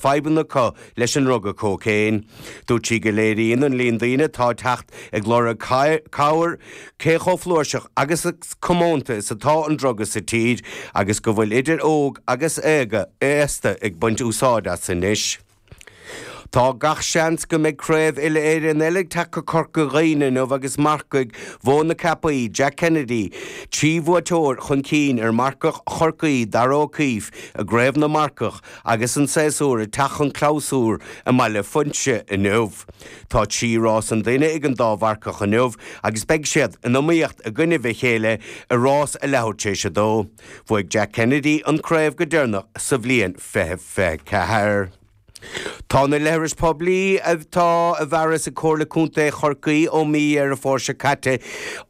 Fadhbanna acu leis an ndruga cócaon. Dúirt sí go léiríonn an líon daoine atá ag teacht ag lorg cabhair cé chomh flúirseach agus comónta is atá an druga sa tír agus go bhfuil idir óg agus aosta ag baint úsáid as anois. Tá gach seans go mbeidh craobh uile-Éireann eile ag teacht go Corca Dhuibhne inniu agus marcaigh Mhóin na Ceapaí, Jack Kennedy, 3 bhuaiteoir chun cinn ar mharcach Chorcaí, Darragh O'Keeffe, i gCraobh na Marcach. Agus an séasúr ag teacht chun clabhsúir i mBaile Phuinse inniu. Tá 3 rás an duine ag an dá mharcach inniu agus beidh siad in iomaíocht i gcoinnibh a chéile i rás a leathuair tar éis a dó. Bhuaigh Jack Kennedy an craobh go deireanach sa bhliain 2024. Tá na leithris poiblí atá i bhfearas ag Comhairle Contae Chorcaí ó mí Dheireadh Fómhair seo caite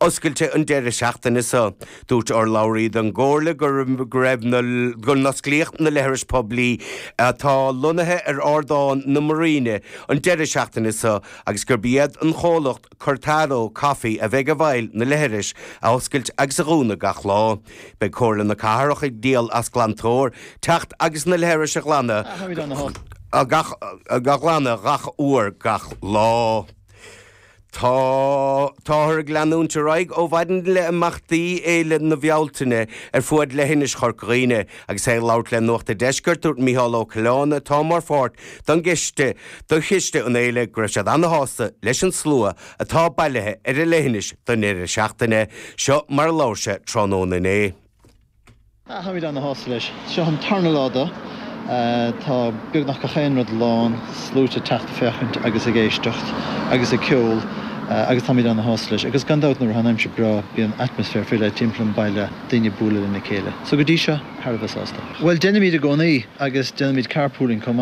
oscailte an deireadh seachtaine seo. Dúirt urlabhraí don gComhairle go raibh na go n-osclaíodh na leithris poiblí atá lonnaithe ar Ardán na Muiríne an deireadh seachtaine seo agus gurb iad an chomhlacht Cortado Coffee a bheidh i bhfeighil na leithris a oscailt agus a dhúnadh gach lá. Beidh Comhairle na Cathrach ag díol as glantóir teacht agus na leithris a ghlanadh gach a ghlanadh gach uair gach lá. Tá Táthar ag leanúint ar aghaidh ó mhaidin le imeachtaí Fhéile na Bealtaine ar fuaid leithinis Chorca Dhuibhne. Agus é ag labhairt le Nuacht a' Deiscirt, dúirt Micheál Ó Coileáin, atá mar pháirt don gcoiste do chiste an fhéile, go raibh siad ana-shásta leis an slua atá bailithe ar an leithinis don deireadh seachtaine. Seo mar a labhair sé tráthnóna inné. Táimid ana-shásta leis. Seo an tarna lá de. Tá beagnach gach aon rud lán, sluaite ag teacht ag féachaint agus ag éisteacht agus ag ceol agus táimid ana-shásta leis. Agus gan dabht nuair atá an aimsir breá bíonn atmaisféar faoi leith timpeall an baile, daoine ag bualadh lena chéile. So go dtí seo, thar a bheith sásta. Bhuel, déanaimid i gcónaí agus déanaimid carpooling chomh maith.